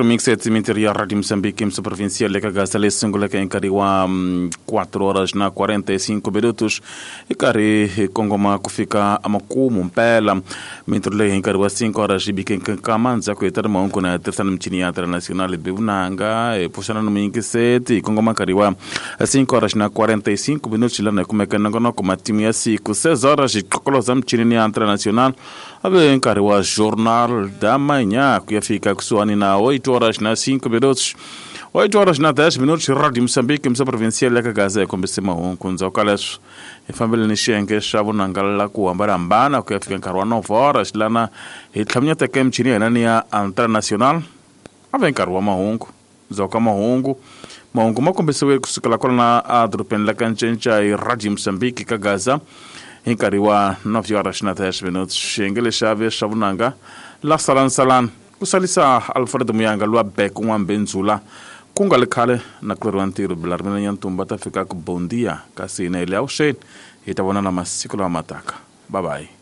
Remix ya ya Rádio Moçambique, Moça Provincial, ka gasa leyi sunguleke hi nkarhi wa 4 horas na 45 minutos hi karhi hi kongoma ku fika emakumu mpela mintirho leyi hi nkarhi wa 5 horas yi bike nkama ndzhaku hi ta ri mahungu na tirhisana michini ya international bi vunanga hi pfuxana ni muyingiseti hi kongoma nkarhi wa 5 horas na 45 minutos lana hi kumeka nongonoko matimu ya siku 6 horas hi qokoloza michini ya international ave nkarhi wa Jornal da Manhã, ku ya fika kusuhani na 8 horas na 5 minutos. 8 horas na 10 minutos, Rádio Moçambique, Moça Provincial ya ka Gaza hi kombise mahungu. Ndzhaku ka leswo hi fambile ni xiyenge xa vunanga ku hambanahambana ku ya fika nkarhi wa 9 horas lana hi tlhaminyeteke emichini ya hina ni ya International. Ave nkarhi wa mahungu. Ndzhaku ka mahungu, mahungu ma kombisiwe kusukela kwalana edorobeni la ka Ncenca hi Radio Moçambique ka Gaza hi nkarhi wa 9 horas na 10 minutos. Xiyenge lexi ave xa vunanga la salansalani ku salisa Alfred Muyanga lwa bek n'wambenzula ku nga li khale na kuleriwa ntirho Bilarimela Nyantumba ta fika ku bondia kasi hina hi le avuxeni hi ta vonana masiku lama mataka. Bye bye.